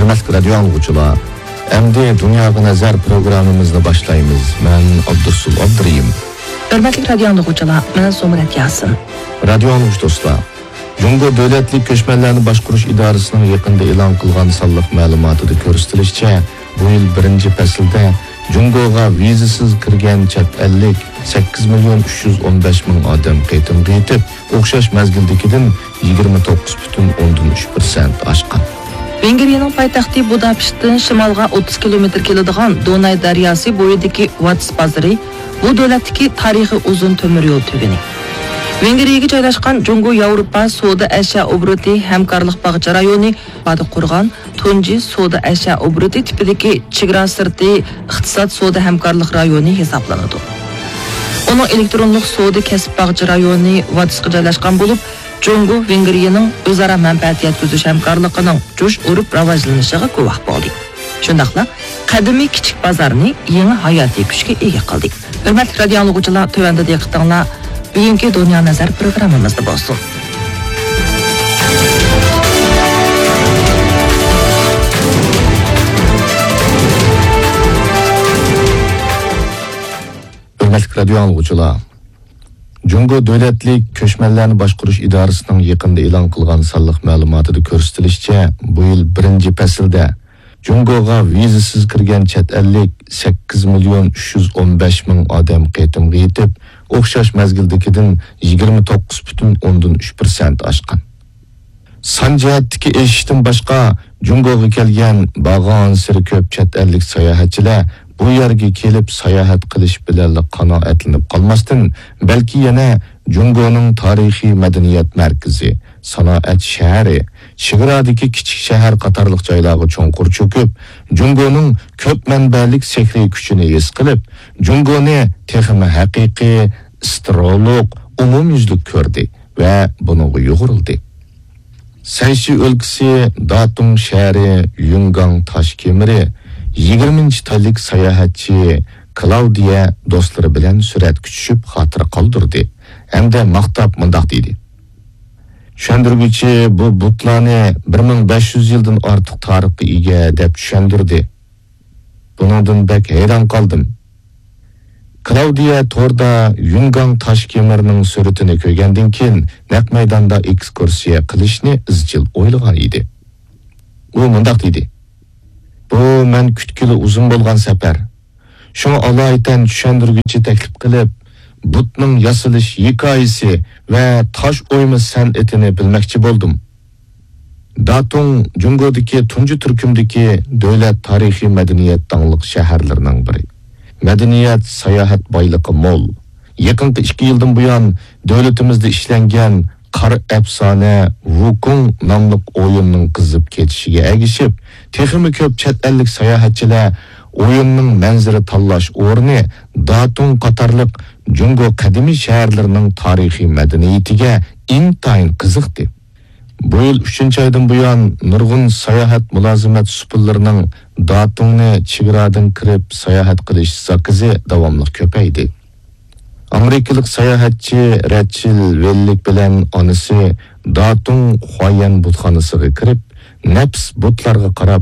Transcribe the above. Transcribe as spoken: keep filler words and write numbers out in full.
ھۆرمەتلىك رادىيو ئاڭلىغۇچىلار، ئەمدى دۇنياغا نەزەر پروگراممىمىزنى باشلايمىز. مەن ئابدۇرسۇل ئابدۇرېھىم. ھۆرمەتلىك رادىيو ئاڭلىغۇچىلار، مەن زۇمرەت ياسىن. رادىيو ئاڭلىغۇچى دوستلار، جۇڭگو دۆلەتلىك كۆچمەنلەرنى باشقۇرۇش ئىدارىسىنىڭ يېقىندا ئېلان قىلغان سانلىق مەلۇماتىدا كۆرسىتىلىشىچە، بۇ يىل بىرىنچى پەسىلدە جۇڭگوغا ۋىزىسىز كىرگەن چەت ئەللىك سەككىز مىليون ئۈچ يۈز ئون بەش مىڭ ئادەم قېتىمغا يېتىپ، ئوخشاش مەزگىلدىكىدىن يىگىرمە توققۇز پۈتۈن ئوندىن ئۈچ پىرسەنت ئاشقان. ۋېنگرىيەنىڭ پايتەختى بۇداپېشتتىن شىمالغا ئوتتۇز كىلومېتىر كېلىدىغان دوناي دەرياسى بويىدىكى ۋاتس بازىرى بۇ دۆلەتتىكى تارىخىي ئۇزۇن تۆمۈر يول تۈگۈنى. ۋېنگرىيەگە جايلاشقان جۇڭگو ياۋروپا سودا ئەشيا ئوبوروتى ھەمكارلىق باغچە رايونى ئىپادە قۇرغان تۇنجى سودا ئەشيا ئوبوروتى تىپىدىكى چېگرا سىرتى ئىقتىساد سودا ھەمكارلىق رايونى ھېسابلىنىدۇ. ئۇنىڭ ئېلېكترونلۇق سودا كەسىپ باغچە رايونى ۋاتسقا جايلاشقان بولۇپ، جۇڭگو ۋېنگرىيەنىڭ ئۆزئارا مەنپەئەت يەتكۈزۈش ھەمكارلىقىنىڭ جۇش ئۇرۇپ راۋاجلىنىشىغا گۇۋاھ بولدى. شۇنداقلا قەدىمىي كىچىك بازارنى يېڭى ھاياتىي كۈچكە ئىگە قىلدى. ھۆرمەتلىك رادىيو ئاڭلىغۇچىلار، تۆۋەندە دىققىتىڭلار بۈگۈنكى دۇنيا نەزەر پروگراممىمىزدا بولسۇن. ھۆرمەتلىك رادىيو ئاڭلىغۇچىلار، جۇڭگو دۆلەتلىك كۆچمەنلەرنى باشقۇرۇش ئىدارىسىنىڭ يېقىندا ئېلان قىلغان سانلىق مەلۇماتىدا كۆرسىتىلىشىچە، بۇ يىل بىرىنچى پەسىلدە جۇڭگوغا ۋىزىسىز كىرگەن چەت ئەللىك سەككىز مىليون ئۈچ يۈز ئون بەش مىڭ ئادەم قېتىمغا يېتىپ، ئوخشاش مەزگىلدىكىدىن يىگىرمە توققۇز پۈتۈن ئوندىن ئۈچ پىرسەنت ئاشقان. سان جەھەتتىكى ئېشىشتىن باشقا، جۇڭگوغا كەلگەن بارغانسېرى كۆپ چەت ئەللىك ساياھەتچىلەر بۇ يەرگە كېلىپ ساياھەت قىلىش بىلەنلا قانائەتلىنىپ قالماستىن، بەلكى يەنە جۇڭگونىڭ تارىخىي مەدەنىيەت مەركىزى، سانائەت شەھىرى، چېگرادىكى كىچىك شەھەر قاتارلىق جايلارغا چوڭقۇر چۆكۈپ، جۇڭگونىڭ كۆپ مەنبەلىك سېھرىي كۈچىنى ھېس قىلىپ، جۇڭگونى تېخىمۇ ھەقىقىي، ئىسترولۇق، ئومۇميۈزلۈك كۆردى ۋە بۇنىڭغا يۇغۇرۇلدى. سەنشى ئۆلكىسى داتۇڭ شەھىرى يۈنگاڭ تاش كېمىرى يىگىرمىنچى تايلىك ساياھەتچى كلاۋدىيە دوستلىرى بىلەن سۈرەتكە چۈشۈپ خاتىرە قالدۇردى ھەمدە ماختاپ مۇنداق دېدى: «چۈشەندۈرگۈچى بۇ بۇتلارنى بىر مىڭ بەش يۈز يىلدىن ئارتۇق تارىخقا ئىگە» دەپ چۈشەندۈردى. بۇنىڭدىن بەك ھەيران قالدىم. كلاۋدىيە توردا يۈنگاڭ تاش كېمىرىنىڭ سۈرىتىنى كۆرگەندىن كېيىن، نەق مەيداندا ئېكسكۇرسىيە قىلىشنى ئىزچىل ئويلىغان ئىدى. ئۇ مۇنداق دېدى: «بۇ مەن كۈتكىلى ئۇزۇن بولغان سەپەر. شۇڭا ئالايىتەن چۈشەندۈرگۈچى تەكلىپ قىلىپ، بۇتنىڭ ياسىلىش ھېكايىسى ۋە تاش ئويما سەنئىتىنى بىلمەكچى بولدۇم.» داتۇڭ جۇڭگودىكى تۇنجى تۈركۈمدىكى دۆلەت تارىخىي مەدەنىيەت داڭلىق شەھەرلىرىنىڭ بىرى. مەدەنىيەت، ساياھەت بايلىقى مول. يېقىنقى ئىككى يىلدىن بۇيان دۆلىتىمىزدە ئىشلەنگەن قارا ئەپسانە ۋۇكۇڭ ناملىق ئويۇننىڭ قىزىپ كېتىشىگە ئەگىشىپ، تېخىمۇ كۆپ چەت ئەللىك ساياھەتچىلەر ئويۇننىڭ مەنزىرە تاللاش ئورنى داتۇڭ قاتارلىق جۇڭگو قەدىمىي شەھەرلىرىنىڭ تارىخىي مەدەنىيىتىگە ئىنتايىن قىزىقتى. بۇ يىل ئۈچىنچى ئايدىن بۇيان نۇرغۇن ساياھەت مۇلازىمەت سۇپىلىرىنىڭ داتۇڭنى چېگرادىن كىرىپ ساياھەت قىلىش زاكىزى داۋاملىق كۆپەيدى. ئامېرىكىلىق ساياھەتچى رەچېل ۋېللىك بىلەن ئانىسى داتۇڭ خۇايەن بۇتخانىسىغا كىرىپ، نەپىس بۇتلارغا قاراپ